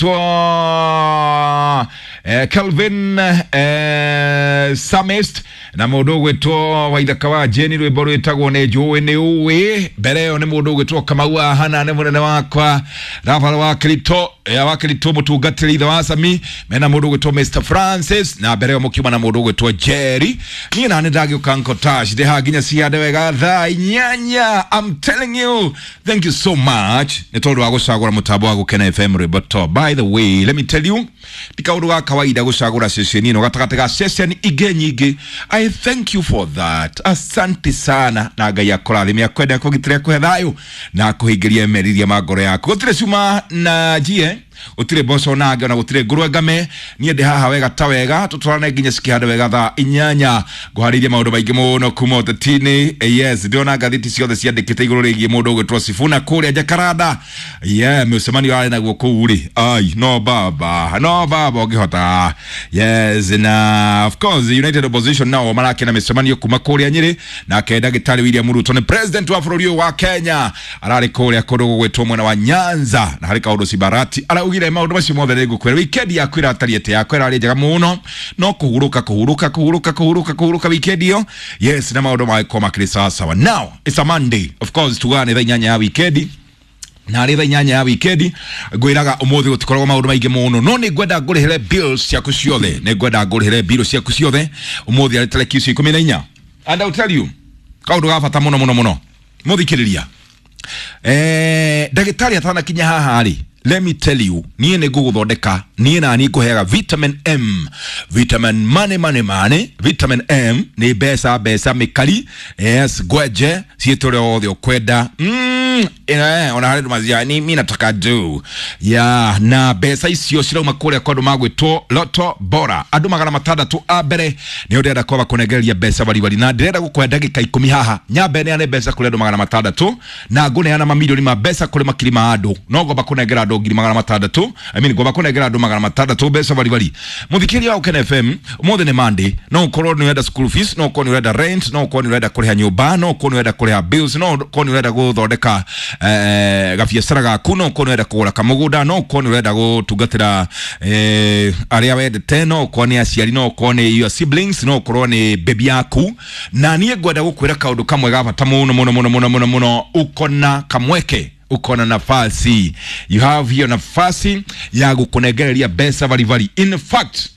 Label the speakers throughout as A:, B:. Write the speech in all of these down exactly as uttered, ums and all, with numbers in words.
A: Twa eh, Kelvin eh, Samist na mundu ugwitwo Waithaka wa Jeni, rwimbo rwitagwo ni njũĩ nĩ ũĩ. Mbere ĩyo nĩ mũndũ ũgwĩtwo Kamau wa Hana, nĩ mũnene wakwa Rafael wa Kirito ya wa Kirito mũtungatĩri ithe wa Sami mena mũndũ ũgwĩtwo Mister Francis, na mbere ĩyo mũkiuma na mũndũ ũgwĩtwo Jerry. Niĩ na nĩ ndagĩũka nkotash ndĩ haha nginya ciande wega thaa inyanya. I'm telling you, thank you so much nĩ tondũ wa gũcagũra mũtambo wa Gũkena F M rwĩmbo top. By the way, let me tell you, ti kaũndũ ga kawaida gũcagũra ceceni ĩno gatagatĩ ga ceceni ingĩ nyingĩ. I thank you for that, asante sana, na Ngai akũrathime, akwende, akũgitĩre, akũhe thayũ na akũhingĩrie meriria ma ngoro yaku. Gũtirĩ cuma na njie, gũtirĩ mboco nange, ona gũtirĩ ngũrwe ngame. Niĩ ndĩ haha wega ta wega, tũtwarane nginya cikĩhande wega thaa inyanya. Ngũharĩirie maũndũ maingĩ mũno kuma ũteti-inĩ. Yes, ndĩrona ngathĩti ciothe ciandĩkĩte igũrũ rĩgiĩ mũndũ ũgwĩtwo Sifuna kũrĩa Jakaranda. Yeah, mũcemanio warĩ naguo kũu rĩ, ai no baba, no baba ũngĩhota. Yes, na of course United Opposition nao marakena mĩcemanio kuma kũrĩa Nyĩrĩ. Nake ndagĩtarĩ William Ruto nĩ president wa bũrũri ũyũ wa Kenya, ararĩ kũrĩa kũndũ gũgwĩtwo mwena wa Nyanza, na harĩ kaũndũ Cibarati araugire. Maũndũ macio mothe nĩ ngũkwĩra. Weekend yaku ĩratariĩ atĩa? Yakwa ĩrarĩ njega mũno, no kũhurũka kũhurũka kũhurũka kũhurũka kũhurũka weekend ĩyo. Yes, na maũndũ magĩkorwo makĩrĩ sawa sawa. Now it's a Monday, of course tugaga nĩ thaa inyanya ya weekend, na arĩ thaa inyanya ya wikendi ngwĩraga ũmũthĩ gũtikoragwo maũndũ maingĩ mũno, no nĩ ngwenda ngũrĩhĩre bills ciaku ciothe, nĩ ngwenda ngũrĩhĩre bill ciaku ciothe ũmũthĩ arĩ tarĩki icio ikũmi na inya. And I'll tell you kaũndũ ga bata mũno mũno mũno, mũthikĩrĩria, eh, ndagĩtarĩ atanakinya haha rĩ, let me tell you, niĩ nĩ ngũgũthondeka, niĩ na niĩ ngũheaga vitamin M, vitamin money money money. Vitamin M nĩ mbeca mbeca mĩkari. Yes, ngwenje ciĩtũ ũrĩa wothe ũkwenda. mm, eh, ona harĩ ndũ ni mi nataka do ya na mbeca icio cirauma kũrĩa kwa andũ magwĩtwo Loto Bora. Andũ magana matandatũ a mbere nĩo ndĩrenda kwamba kũnengereria mbeca wariwari, na ndĩrenda gũkũhe ndagĩka ikũmi haha nyambe neane mbeca kũrĩ andũ magana matandatũ, na ngũneana mamirioni ma mbeca kũrĩ makiri ma andũ, no ngomba kũnengera andũ ngiri magana matandatũ, I mean, ngomba kũnengera andũ magana matandatũ mbeca wariwari. Mũthikĩria wa Gũkena F M, ũmũthĩ nĩ Monday, no ũkorwo nĩ ũrenda school fees, no ũkorwo nĩ ũrenda rent, no ũkorwo nĩ ũrenda kũrĩha nyũmba, no ũkorwo nĩ ũrenda kũrĩha bills, no ũkorwo nĩ ũrenda gũthondeka eh, gabiacara gaku, no ũkorwo nĩ ũrenda kũgũra kamũgũnda, no ũkorwo nĩ ũrenda gũtungatĩra eh, arĩa wendete, no ũkorwo nĩ aciari, no ũkorwo nĩ your siblings, no ũkorwo nĩ baby yaku. Na niĩ ngwenda gũkwĩra kaũndũ kamwe ga bata mũno mũno mũno mũno mũno mũno. Uko na kamweke, uko na nafasi, you have hiyo nafasi ya gũkũnengereria mbeca varibari. In fact,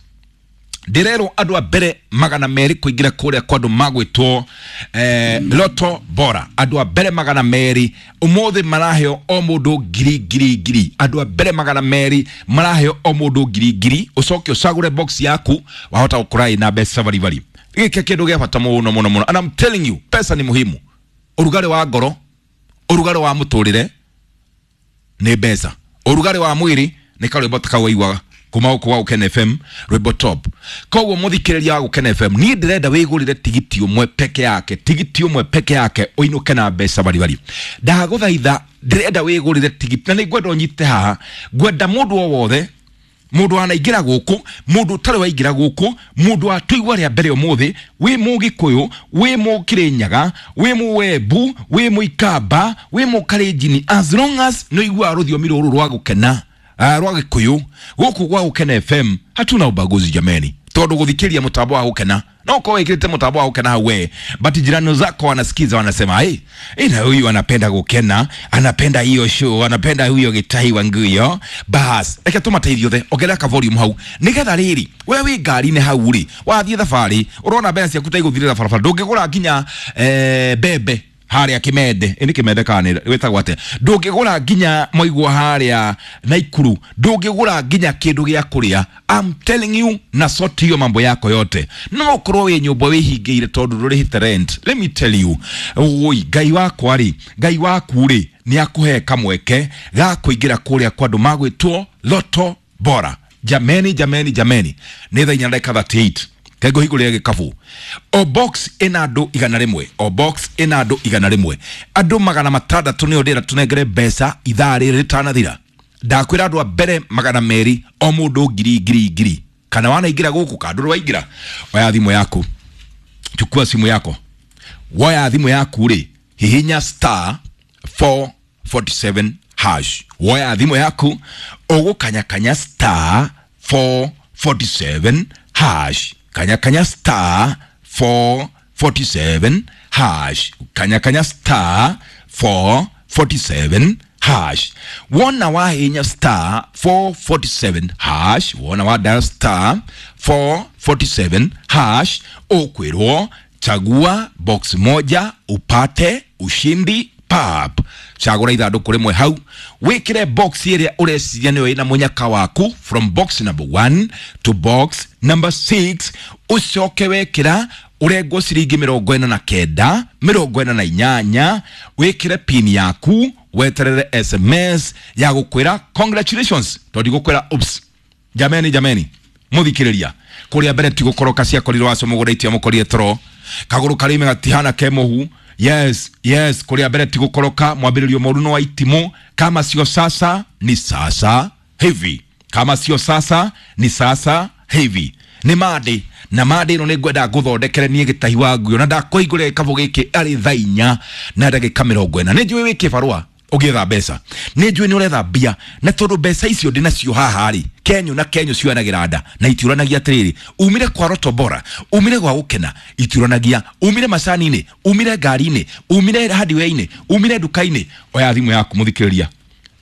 A: ndĩrerwo andũ a mbere magana merĩ kũingĩra kũrĩa kwa andũ magwĩtwo eh, Loto Bora, andũ a mbere magana merĩ ũmũthĩ maraheo o mũndũ ngiri ngiri ngiri. Andũ a mbere magana merĩ maraheo o mũndũ ngiri ngiri. Ũcoke ũcagũre box yaku, wahota gũkora ĩna mbeca varibari. Gĩkĩ kĩndũ gĩa bata mũno mũno mũno, and I'm telling you, pesa ni muhimu. Ũrugarĩ wa ngoro, ũrugarĩ wa mũtũrĩre nĩ mbeca, ũrugarĩ wa mwĩrĩ nĩ karwĩmbo ta kau waiguaga kuma gũkũ gwa Gũkena F M rwĩmbo top. Koguo mũthikĩrĩria wa Gũkena F M, niĩ ndĩrenda wĩgũrĩre tigiti ũmwe peke yake, tigiti ũmwe peke yake, ũinũke na mbeca baribari. Ndagũthaitha, ndĩrenda wĩgũrĩre tigiti, na nĩ ngwenda ũnyite haha. Ngwenda mũndũ o wothe, mũndũ wanaingĩra gũkũ, mũndũ ũtarĩ waingĩra gũkũ, mũndũ watũigua rĩa mbere ũmũthĩ, wĩ mũgĩkũyũ, wĩ mũkĩrĩnyaga, wĩ mũwembu, wĩ mũikamba, wĩ mũkarenjini, as long as nĩ ũiguaga rũthiomi rũrũ rwa gũkena, uh, rwa gĩkũyũ, gũkũ gwa Gũkena F M hatuna ubaguzi jameni, tondũ gũthikĩria mũtambo wa Gũkena, no ukorwo wĩkĩrĩte mũtambo wa Gũkena hau we, but jirani zako wanasikiza, wanasema hey, ina huyu anapenda Gũkena, anapenda hiyo show, anapenda huyo Gĩtahi wa Nguyo. Bas reke tũmateithie othe, ongerera ka volume hau nĩgetha rĩrĩ we wĩ ngari-inĩ hau rĩ, wathiĩ thabarĩ ũrona mbeca ciaku ta igũthirĩra barabara, ndũngĩgũra nginya eh, mbembe harĩa Kimende, ĩni Kimende kana nĩ wĩtagwo atĩa, ndũngĩgũra nginya moigua harĩa Naikuru, ndũngĩgũra nginya kĩndũ gĩa kũrĩa. I'm telling you, na sort hiyo mambo yako yote. No ũkorwo wĩ nyũmba wĩhingĩire tondũ ndũrĩhĩte rent. Let me tell you, oi Ngai wakwa rĩ, Ngai waku rĩ, nĩ akũhe kamweke ga kũingĩra kũrĩa kwa andũ magwĩtwo Loto Bora. Jameni, jameni, jameni, nĩ thaa inya na ndagĩka thirty eight. Kengo hingũrĩre gĩkabu. O box ĩna andũ igana rĩmwe, o box ĩna andũ igana rĩmwe, andũ magana matandatũ nĩo ndĩrenda tũnengere mbeca ithaa rĩrĩ rĩtanathira. Ndakwĩra andũ a mbere magana merĩ o mũndũ ngiri ngiri ngiri. Kana wanaingĩra gũkũ kana ndũrĩ waingĩra, oya thimũ yaku, chukua simu yako, woya thimũ yaku rĩ, hihinya star four forty seven hash. hash. Woya thimũ yaku ũgũkanyakanya star four forty-seven hash. Kanyakanya star four forty-seven hash. Kanyakanya star four forty-seven hash. Wona wahinya star four forty-seven hash. Wona wa dial star four forty-seven hash. Ukwirwo chagua box moja upate ushindi pap. Chagura ithandũkũ rĩmwe hau wĩkĩre box ĩrĩa ũreciria nĩyo ĩna mũnyaka waku from box number one to box number six. Ũcoke wekĩra ũrengwo ciringi mĩrongo ĩna na kenda mĩrongo ĩna na inyanya, wĩkĩre pin yaku weterere S M S ya gũkwĩra congratulations, tondũ ndigũkwĩra oops. Jameni, jameni, mũthikĩrĩria kũrĩa mbere ti gũkoroka ciakorirwo wacio mũgũnda itiamũkorire toro kagũrũ karĩme gatihana ke mũhu. Yes, yes, kũrĩa mbere ti gũkoroka mwambĩrĩrio mũru no wa itimũ. Kama sio sasa ni sasa hivi, kama sio sasa ni sasa hivi. Nĩ Monday na Monday ĩno nĩ ngwenda ngũthondekere niĩ gĩtahi wa nguo na ndakũhingũrĩra gĩkabũ gĩkĩ arĩ thaa inya na ndagĩka mĩrongo ĩna. Nĩ njũĩ wĩ kĩbarũa ũgĩetha mbeca, nĩ njũĩ nĩ ũretha mbia, na tondũ mbeca icio ndĩ nacio haha rĩ, kenyũ na kenyũ cioyanagĩra nda na itiũranagia atĩrĩrĩ, umire kwa Roto Bora, umire gwa gũkena, itiũranagia, umire macani-inĩ, umire ngari-inĩ, umire hardware-inĩ, umire nduka-inĩ. Oya thimũ yaku mũthikĩrĩria,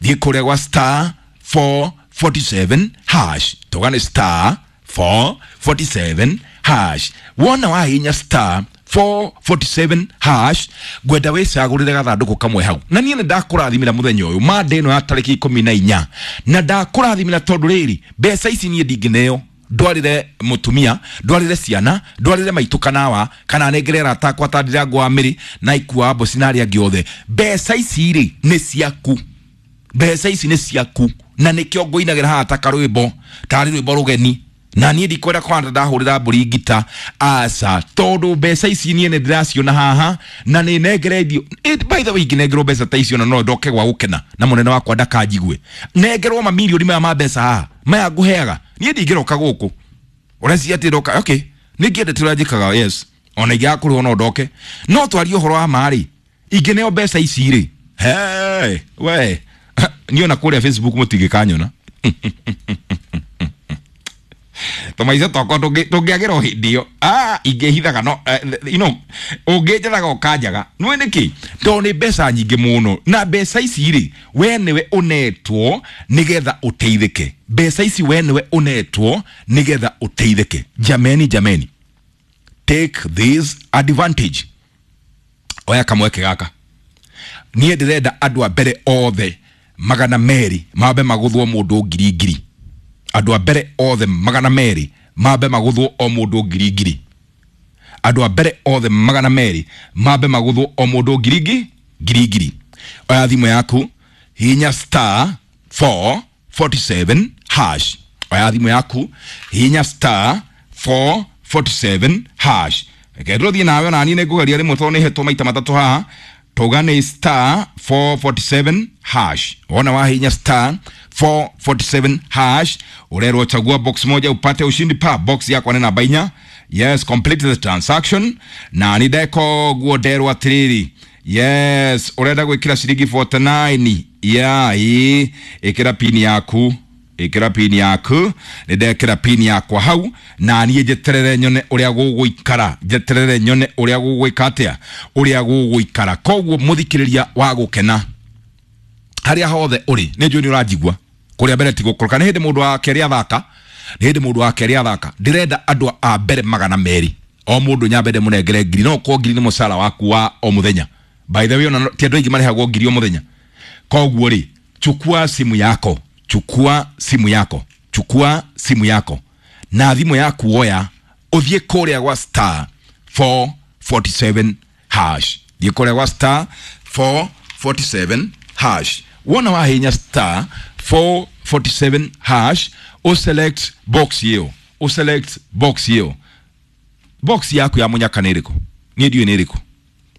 A: thiĩ kũrĩa gwa star four forty-seven hash. Tũgane star four forty-seven hash. Wona wahinya star four forty-seven hash, ngwenda wĩcagũrĩre gathandũkũ kamwe hau. Na niĩ nĩ ndakũrathimĩra mũthenya ũyũ Monday ĩno ya tarĩki ikũmi na inya, na ndakũrathimĩra tondũ rĩrĩ mbeca ici niĩ ndingĩneo ndwarĩre mũtumia, ndwarĩre ciana, ndwarĩre maitũ kanawa, kana nengere arata akwa ta Ndirango wa Mĩrĩ na Ikua Mboci na arĩa angĩ othe. Mbeca ici rĩ nĩ ciaku, mbeca ici nĩ ciaku, na nĩkĩo ngũinagĩra haha ta karwĩmbo, tarĩ rwĩmbo rũgeni. Na niĩ ndikwenda kwanza ndahũrĩra mbũri ngita, aca, tondũ mbeca ici niĩ nĩ ndĩraciona haha na nĩ nengeretio. By the way, ingĩnengerwo mbeca ta icio na no ndoke gwa gũkena na mũnene wakwa ndakanjigue. Nengerwo mamirioni maya ma mbeca haha maya ngũheaga, niĩ ndingĩroka gũkũ. Ũreciria atĩ ndoka? Okay, nĩ ngĩendete ũrĩa njĩkaga, yes, ona ingĩaga kũrĩhwo no ndoke, no twarie ũhoro wa ma rĩ, ingĩneo mbeca ici rĩ, hey, we niĩ ona kũrĩa Facebook mũtingĩkanyona. Tũmaica twakwa tũngĩagĩra o hĩndĩ ĩyo, ah, ingĩhithaga no, you know, ũngĩnjethaga ũkanjaga. Nĩũĩ nĩkĩ? Tondũ nĩ mbeca nyingĩ mũno, na mbeca ici rĩ, we nĩwe ũnetwo nĩgetha ũteithĩke. Mbeca ici we nĩwe ũnetwo nĩgetha ũteithĩke. Jameni, jameni, take this advantage. Oya kamweke gaka. Niĩ ndĩrenda andũ a mbere othe magana merĩ mambe magũthwo mũndũ ngiri ngiri. Andũ a mbere othe magana merĩ mambe magũthwo o mũndũ ngiri ngiri. Andũ a mbere othe magana merĩ mambe magũthwo o mũndũ ngiri ngiri ngiri ngiri. Oya thimũ yaku, hihinya star four forty-seven hash. Oya thimũ yaku, hihinya star four forty-seven hash. Reke tũthiĩ nawe, ona niĩ nĩngũgeria rĩmwe tondũ nĩhetwo maita matatũ haha. Tauga nĩ star four forty-seven hash. Wona wahinya star four forty-seven hash, urerwo chagua box moja upate ushindi pa box yakwa nĩ namba inya. Yes, complete the transaction. Na nĩ ndeko guo nderwo atĩrĩrĩ, yes, urenda gwĩkĩra ciringi forty-nine. Yeah, ĩ ĩkĩra pin yaku, ĩkĩra pin yaku. Nĩ ndekĩra pin yakwa hau, na niĩ njeterere nyone ũrĩa gũgũikara, njeterere nyone ũrĩa gũgwĩka atĩa, ũrĩa gũgũikara. Koguo mũthikĩrĩria wa gũkena harĩa hothe ũrĩ, nĩ njũĩ nĩ ũranjigua. Kũrĩa mbere ti gũkoroka, nĩ hĩndĩ mũndũ wa kerĩ athaka, nĩ hĩndĩ mũndũ wa kerĩ athaka. Ndĩrenda andũ a mbere magana merĩ, o mũndũ nyambe ndĩmũnengere ngiri, no ũkorwo ngiri nĩ mũcara waku wa o mũthenya. By the way, ona ti andũ aingĩ marĩhagwo ngiri o mũthenya. Koguo rĩ, chukua simu yako, chukua simu yako, chukua simu yako na thimũ yaku oya, ũthiĩ kũrĩa gwa star four forty-seven hash. Thiĩ kũrĩa gwa star four forty-seven hash. Wona wahinya star four forty-seven hash, o select box ĩyo, o select box ĩyo. Box yaku ya mũnyaka nĩ ĩrĩkũ? Niĩ ndiũĩ nĩ ĩrĩkũ,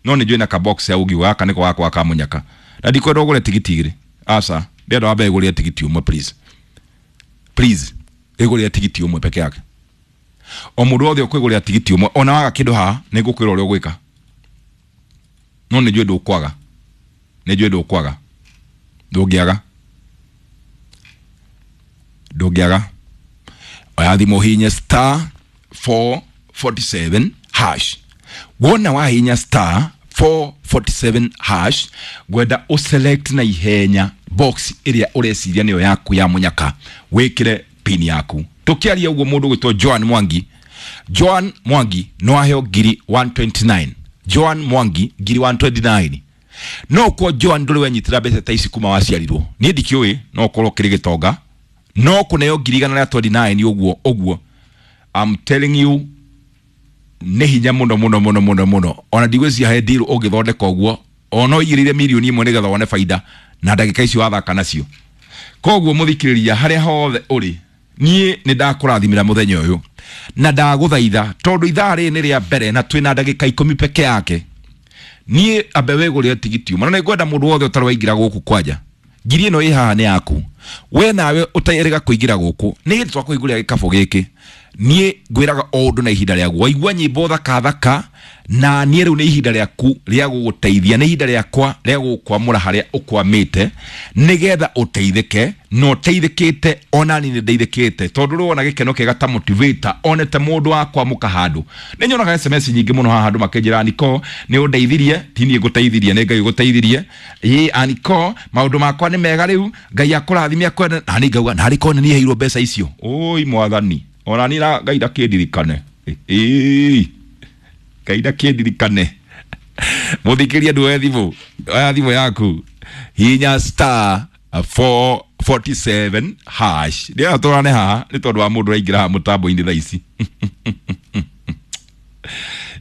A: no nĩ njũĩ na ka box ya ũngiuga gaka nĩko gakwa ka mũnyaka. Na ndikwenda ũgũre tigiti igĩrĩ, aca, ndĩrenda wambe ũgũrĩre tigiti ũmwe please, please, ĩgũrĩre tigiti ũmwe peke yake. O mũndũ wothe ũkwĩgũrĩra tigiti ũmwe, ona waga kĩndũ haha nĩ ngũkwĩra ũrĩa ũgwĩka, no nĩ njũĩ ndũkwaga, nĩ njũĩ ndũkwaga, Ndũngĩaga, ndũngĩaga. Oya thimũ hihinya star four forty-seven hash. Wona wahihinya star four forty-seven hash, ngwenda ũselect na ihenya box ĩrĩa ũreciria nĩyo yaku ya mũnyaka, wĩkĩre pin yaku. Tũkĩaria ũguo mũndũ ũgwĩtwo Joan Mwangi, Joan Mwangi no aheo ngiri one twenty-nine. Joan Mwangi ngiri one twenty-nine. No kwa Joan ndũrĩ wenyitĩra mbeca ta ici kuma waciarirwo. Niĩ ndikĩũĩ, no ũkorwo ũkĩrĩ gĩtonga, no kũneo ngiri igana rĩa twenty-nine ũguo ũguo. I'm telling you, nĩ hinya mũno mũno mũno mũno mũno. Ona ndigwĩciria he deal ũngĩthondeka ũguo, ona ũigĩrĩire mirioni ĩmwe nĩgetha wone baida na ndagĩka icio wathaka nacio. Koguo mũthikĩrĩria harĩa hothe ũrĩ, niĩ nĩ ndakũrathimĩra mũthenya ũyũ na ndagũthaitha, tondũ ithaa rĩrĩ nĩ rĩa mbere na twĩna ndagĩka ikũmi peke yake. Niĩ ambe wĩgũrĩre tigiti ũmwe, na nĩngwenda mũndũ wothe ũtarĩ waingĩra gũkũ kwanja, ngiri ĩno ĩ haha nĩ yaku. We nawe ũterĩga kũingĩra gũkũ, nĩ hĩndĩ twakũhingũrĩra gĩkabũ gĩkĩ. Niĩ ngwĩraga o ũndũ na ihinda rĩaguo. Waigua nyĩmbo thaka thaka, na niĩ rĩu nĩ ihinda rĩaku rĩa gũgũteithia, nĩ ihinda rĩakwa rĩa gũgũkwamũra harĩa ũkwamĩte, nĩgetha ũteithĩke, na ũteithĩkĩte, ona niĩ nĩ ndeithĩkĩte, tondũ rĩu wona gĩkeno kĩega ta motivator, onete mũndũ wa kwamũka handũ. Nĩ nyonaga S M S nyingĩ mũno haha andũ makĩnjĩra, Aniko nĩ ũndeithirie. Ti niĩ ngũteithirie, nĩ Ngai ũgũteithirie. Ĩ Aniko, maũndũ makwa nĩ mega rĩu, Ngai akũrathime akwende. Na niĩ ngauga, na arĩkorwo nĩ niĩ heirwo mbeca icio. Oi mwathani, ona niĩ na Ngai ndakĩndirikane. Ĩ Ngai ndakĩndirikane. Mũthikĩrie ndũoe thimũ, oya thimũ yaku, hihinya star four forty-seven hash. Ndĩrenda tũrane haha nĩ tondũ wa mũndũ ũraingĩra haha mũtambo-inĩ thaa ici.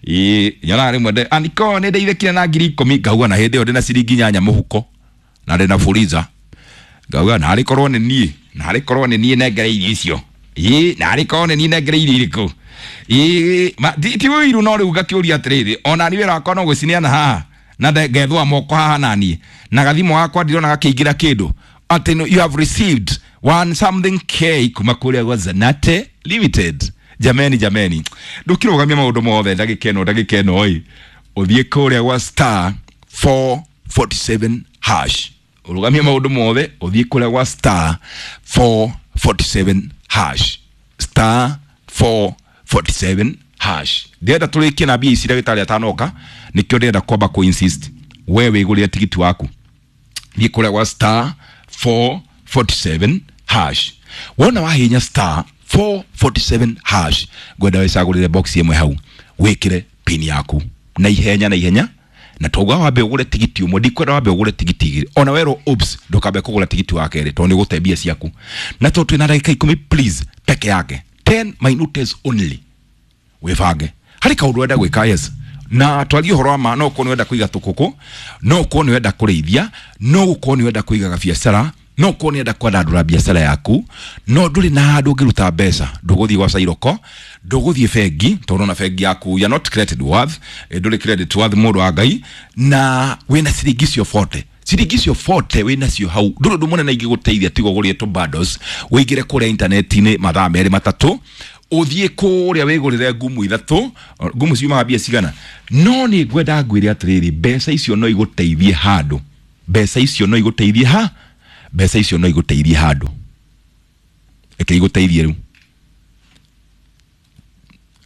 A: Ĩ nyonaga rĩmwe nde Aniko nĩ ndeithĩkire na ngiri ikũmi, ngauga na hĩndĩ ĩyo ndĩna ciringi inyanya mũhuko na ndĩna Fuliza, ngauga na arĩ korwo nĩ niĩ, na arĩ korwo nĩ niĩ nengereirie icio. Ĩ na arĩ korwo nĩ niĩ nengereirie irĩkũ. Ĩ ma ti ti ũiru, no rĩu ngakĩũria atĩrĩrĩ, ona niĩ wĩra wakwa no gũcineana haha na ngethũa moko haha naniĩ na gathimũ gakwa ndirona gakĩingĩra kĩndũ, atĩ no, you have received one something K kuma kũrĩa gwa Zanate Limited. Jameni, jameni, ndũkĩrũgamia maũndũ mothe ndagĩka ĩno, ndagĩka ĩno ĩ ũthiĩ kũrĩa gwa star four forty-seven hash, ũrũgamie maũndũ mothe ũthiĩ kũrĩa gwa star four forty-seven hash, star four forty-seven hash. Ndĩrenda tũrĩkie na mbia ici ndagĩtarĩ atanoka, nĩkĩo ndĩrenda kwamba kũ insist we wĩgũrĩre tigiti waku. Thiĩ kũrĩa gwa star four forty-seven hash. Wona wahihinya star four forty-seven hash, ngwenda wĩcagũrĩre box ĩmwe hau, wĩkĩre pin yaku na ihenya na ihenya. Na tauga wambe ũgũre tigiti ũmwe, ndikwenda wambe ũgũre tigiti igĩrĩ. Ona werwo oops, ndũkambe kũgũra tigiti wa kerĩ tondũ nĩ ũgũte mbia ciaku. Na tondũ twĩna ndagĩka ikũmi please peke yake, ten minutes only, wĩbange harĩ kaũndũ ũrenda gwĩka. Yes, na twarie ũhoro wa ma, no ũkorwo nĩ ũrenda kũiga tũkũkũ, no ũkorwo nĩ ũrenda kũrĩithia, no ũkorwo nĩ ũrenda kũiga gabiacara, no ũkorwo nĩ ũrenda kwandandũra biacara yaku, no ndũrĩ na handũ ũngĩruta mbeca. Ndũgũthiĩ gwa Cairoko, ndũgũthiĩ bengi, tondũ ona bengi yaku you are not credit worth, ndũrĩ credit worth mũndũ wa Ngai, na wĩna ciringi icio forty, ciringi icio forty wĩna cio hau, ndũrĩ ũndũ mũnene ingĩgũteithia tiga ũgũrĩre tũ bundles, ũingĩre kũrĩa intaneti-inĩ mathaa merĩ matatũ, ũthiĩ kũrĩa wĩgũrĩre ngumu ithatũ. Ngumu ciumaga mbia cigana? No nĩ ngwenda ngwĩre atĩrĩrĩ, mbeca icio no igũteithie handũ, mbeca icio no igũteithie ha, mbeca icio no igũteithie handũ. Reke igũteithie rĩu,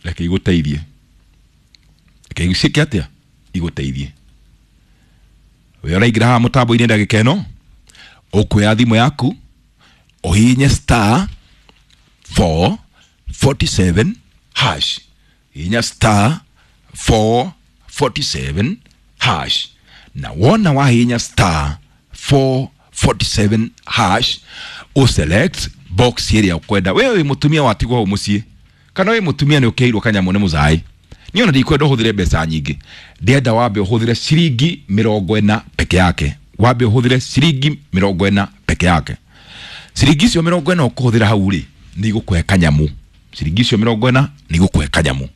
A: reke igũteithie, reke ciĩke atĩa, igũteithie. We ũraingĩra haha mũtambo-inĩ ndagĩka ĩno, ũkuoya thimũ yaku ũhihinye star four forty-seven hash, hihinya star four forty-seven hash. Na wona wahihinya star four forty-seven hash, ũselect box ĩrĩa ũkwenda. We wĩ mũtumia watigwo hau mũciĩ, kana wĩ mũtumia nĩ ũkĩheirwo kanyamũ nĩ mũzaĩ, niĩ ona ndikwenda ũhũthĩre mbeca nyingĩ, ndĩrenda wambe ũhũthĩre ciringi mĩrongo ĩna peke yake, wambe ũhũthĩre ciringi mĩrongo ĩna peke yake. Ciringi icio mĩrongo ĩna ũkũhũthĩra hau rĩ, nĩ igũkũhe kanyamũ. Ciringi icio mĩrongo ĩna nĩ igũkũhe kanyamũ,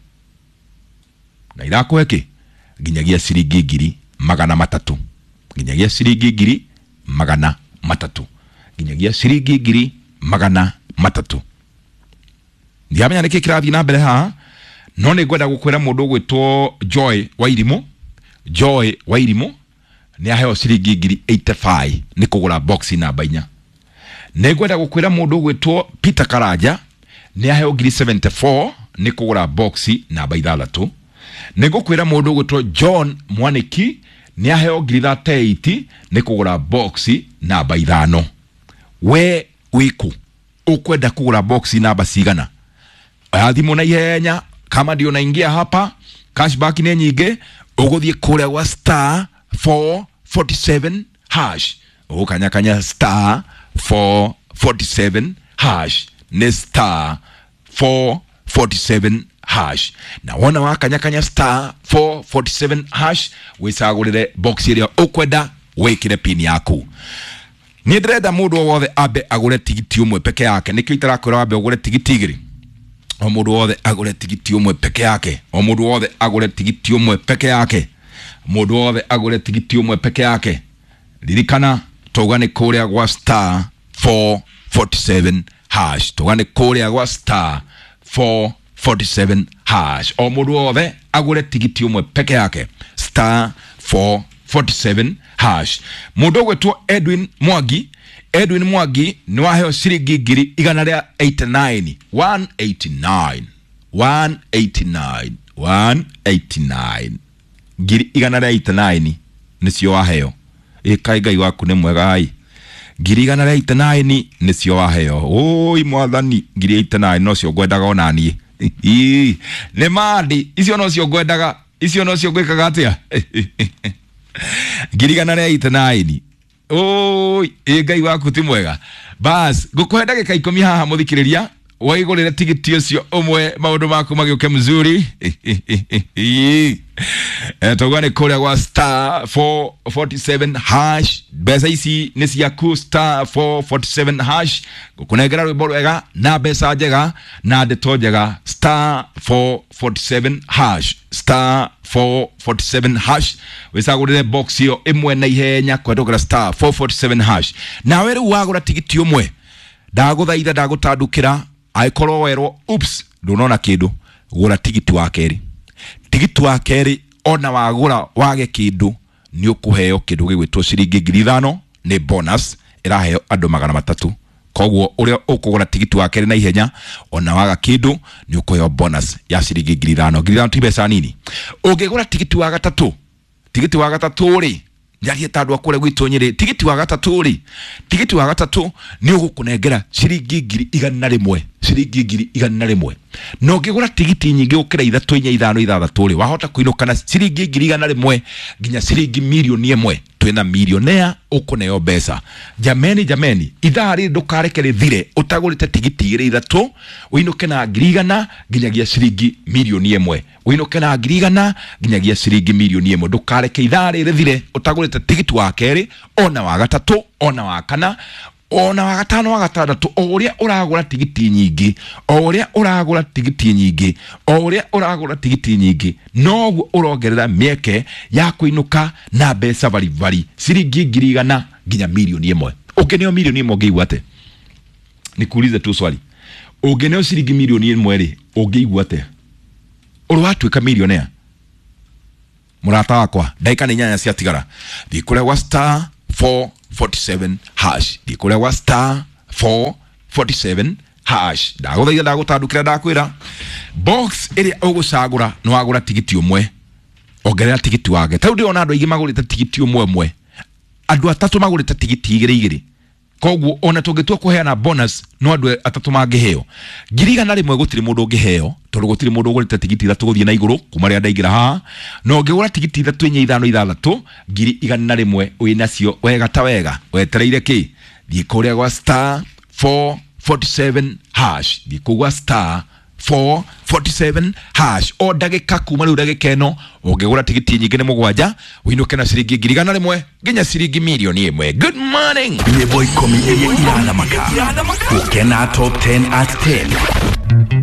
A: na irakũhe kĩ? Nginyagia ciringi ngiri magana matatũ, nginyagia ciringi ngiri magana matatũ, nginyagia ciringi ngiri magana matatũ. Ndiramenya nĩkĩ kĩrathiĩ na mbere haha, no nĩ ngwenda gũkwĩra mũndũ ũgwĩtwo Joy Wairimũ, Joy Wairimũ Nĩ aheo ciringi ngiri eighty-five nĩ kũgũra box namba inya. Nĩ ngwenda gũkwĩra mũndũ ũgwĩtwo Peter Karanja nĩ aheo ngiri seventy-four nĩ kũgũra box namba ithathatũ. Nĩ ngũkwĩra mũndũ ũgwĩtwo John Mwaniki nĩ aheo ngiri thirty-eight nĩ kũgũra box namba ithano. We wĩkũ ũkwenda kũgũra box namba cigana? Oya thimũ na ihenya, kama ndio naingia hapa, cashback nĩ nyingĩ. Ũgũthiĩ kũrĩa gwa star four forty-seven hash, ũgũkanyakanya star four forty-seven hash, nĩ star four forty-seven hash. Na wona wakanyakanya star four forty-seven hash, wĩcagũrĩre box ĩrĩa ũkwenda, wĩkĩre pin yaku. Niĩ ndĩrenda mũndũ o wothe ambe agũre tigiti ũmwe peke yake. Nĩkĩo itarakwĩra wambe ũgũre tigiti igĩrĩ. O mũndũ wothe agũre tigiti ũmwe peke yake. O mũndũ wothe agũre tigiti ũmwe peke yake. Mũndũ wothe agũre tigiti ũmwe peke yake. Ririkana tauga nĩ kũrĩa gwa star four forty-seven hash. Tauga nĩ kũrĩa gwa star four forty-seven hash. O mũndũ wothe agũre tigiti ũmwe peke yake. Star four forty-seven hash. Mũndũ ũgwĩtwo Edwin Mwangi, Edwin Mwangi nĩ waheo ciringi ngiri igana rĩa eighty-nine, one eighty-nine, one eighty-nine, one eighty-nine. Ngiri igana rĩa eighty-nine nĩcio waheo. Ĩ kaĩ Ngai waku nĩ mwega ai. Ngiri igana rĩa eighty-nine nĩcio waheo. Oi mwathani, ngiri eighty-nine nocio ngwendaga ona niĩ. Ii, nĩ mandi icio nocio ngwendaga, icio nocio ngwĩkaga atĩa? Ngiri igana rĩa eighty-nine. Oi, ĩ Ngai waku ti mwega. Bas, ngũkũhe ndagĩka ikũmi haha mũthikĩrĩria, waigũrĩre tigiti ũcio ũmwe, maũndũ maku magĩũke mzuri. Eh, tauga nĩ kũrĩa gwa star four forty-seven hash. Mbeca ici nĩ ciaku, star four forty-seven hash. Ngũkũnengera rwĩmbo rwega na mbeca njega na ndeto njega. Star four forty-seven hash, star four forty-seven hash. Wĩcagũrĩre box ĩyo ĩmwe na ihenya kũhetũkĩra star four forty-seven hash. Nawe rĩu wagũra tigiti ũmwe, ndagũthaitha, ndagũtandũkĩra, angĩkorwo werwo oops ndũnona kĩndũ, gũra tigiti wa kerĩ. Tigiti wa kerĩ ona wagũra wage kĩndũ, nĩ ũkũheo kĩndũ gĩgwĩtwo ciringi ngiri ithano, nĩ bonus ĩraheo andũ magana matatũ. Koguo ũrĩa ũkũgũra tigiti wa kerĩ na ihenya ona waga kĩndũ, nĩ ũkũheo bonus ya ciringi ngiri ithano. Ngiri ithano ti mbeca nini. Ũngĩgũra tigiti wa gatatũ, tigiti wa gatatũ rĩ, njarie ta andũ a kũrĩa gwitũ Nyĩrĩ, tigiti wa gatatũ rĩ, tigiti wa gatatũ nĩ ũgũkũnengera ciringi ngiri igana rĩmwe, ciringi ngiri igana rĩmwe. Na ũngĩgũra tigiti nyingĩ gũkĩra ithatũ, inya, ithano, ithathatũ rĩ, wahota kũinũka na ciringi ngiri igana rĩmwe nginya ciringi mirioni ĩmwe. Twĩna milionea ũkũneo mbeca. Jameni, jameni, ithaa rĩrĩ ndũkareke rĩthire ũtagũrĩte tigiti igĩrĩ ithatũ, ũinũke na ngiri igana nginyagia ciringi mirioni ĩmwe. Ũinũke na ngiri igana nginyagia ciringi mirioni ĩmwe. Ndũkareke ithaa rĩrĩ rĩthire ũtagũrĩte tigiti wa kerĩ, ona wa gatatũ, ona wa kana, ona wa gatano, wa gatandatũ. O ũrĩa ũragũra tigiti nyingĩ, o ũrĩa ũragũra tigiti nyingĩ, o ũrĩa ũragũra tigiti nyingĩ, noguo ũrongerera mĩeke ya kũinũka na mbeca baribari ciringi ngiri igana nginya mirioni ĩmwe. Ũngĩneo mirioni ĩmwe ũngĩigua atĩa? Nikuulize tu swali. Ũngĩneo ciringi mirioni ĩmwe rĩ, ũngĩigua atĩa? Ũrĩ watuĩka milionea? Mũrata wakwa, ndagĩka nĩ inyanya ciatigara. Thiĩ kũrĩa gwa star four forty-seven hash. Thiĩ kũrĩa gwa star four forty-seven hash. Ndagũthaitha, ndagũtandũkĩra, ndakwĩra box ĩrĩa ũgũcagũra nĩ wagũra tigiti ũmwe, ongerera tigiti wake. Ta rĩu ndĩrona andũ aingĩ magũrĩte tigiti ũmwe ũmwe, andũ atatũ magũrĩte tigiti igĩrĩ igĩrĩ. Koguo ona tũngĩtua kũheana bonus no andũ atatũ mangĩheo ngiri igana rĩmwe, gũtirĩ mũndũ ũngĩheo tondũ gũtirĩ mũndũ ũgũrĩte tigiti ithatũ gũthiĩ na igũrũ kuma rĩrĩa ndaingĩra haha. Na ũngĩgũra tigiti ithatũ, inya, ithano, ithathatũ, ngiri igana rĩmwe wĩnacio wega ta wega. Wetereire kĩ? Thiĩ kũrĩa gwa star four forty-seven hash. Thiĩ kũu gwa star four forty-seven hash. O ndagĩka kuma rĩu ndagĩka ĩno ũngĩgũra tigiti nyingĩ nĩ mũgwanja, ũinũke na ciringi ngiri igana rĩmwe nginya ciringi mirioni ĩmwe. Good morning.
B: Nyĩmbo ikũmi iria irathamaka. Gũkena Top ten at ten.